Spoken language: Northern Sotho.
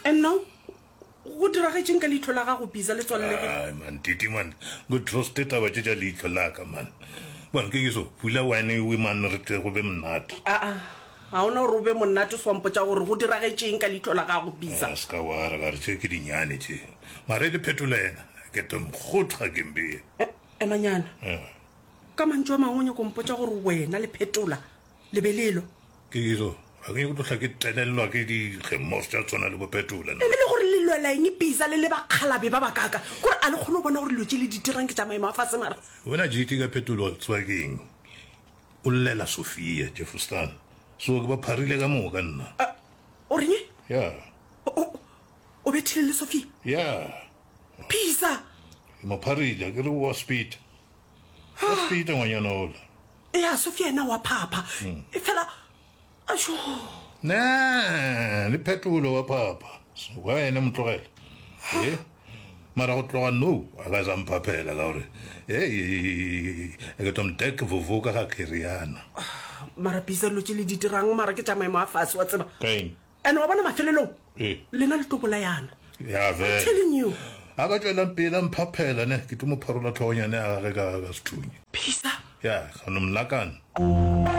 And now go diragetšeng ka leihlo la gago Bisa le tswalelegile? Ai man, Titi man, go truste taba tše tša leihlo la ka man. Bon ke ke so, pula wine ewe man re tle go be monate. Aa, ga ona gore o be monate so wa mpotša gore go diragetšeng ka leihlo la gago Bisa. A ska wa re ka re tše ke dinyane tše. Mara e le phetola yena, ke tlo mokgotha ke mbee. Emanyana. Ka mantšu a mangwe o nyako mpotša gore wena le phetola le be le elwa? Ke so, ga ke nyake go tlo hla ke telelelwa ke dikgemos tša tshwana le bo phetola nna. E le gore le lwela eng Bisa le le bakgalabe ba bakaka? Kore a le kgone go bona gore dilo tše le di dirang ke tša maemo a fase mara? Wena JT ka phetola o tseba ke eng? O llela Sophia, Jeffostan. So ke ba pharile ka moka nna. O reng? Ya. O, o bethile le Sophia? Ya. Bisa! Ke mo pharile, ke re wa speed. Wa speed ngwanyana ola. Ya, Sophia yena wa phapha. E fela ašo. Ne, le phetolo wa phapha. Wa ene motlogela. Eh? Mara go tloga no, a ka sa mphaphela ka gore eh ke tlo mdek vovo ka ga Keriana. Mara Bisa dilo tše le di dirang mara ke tša maemo a fase wa tseba. Ka eng? And wa bona mafelelong Ee. lena le tlo bolayana. Ya I'm vele. telling you. A ka tšwelang pele a mphaphela ne, ke tlo mo pharola tlhogonyane ya gage ka ka sethunya. Bisa. Ya, ka no mlakana.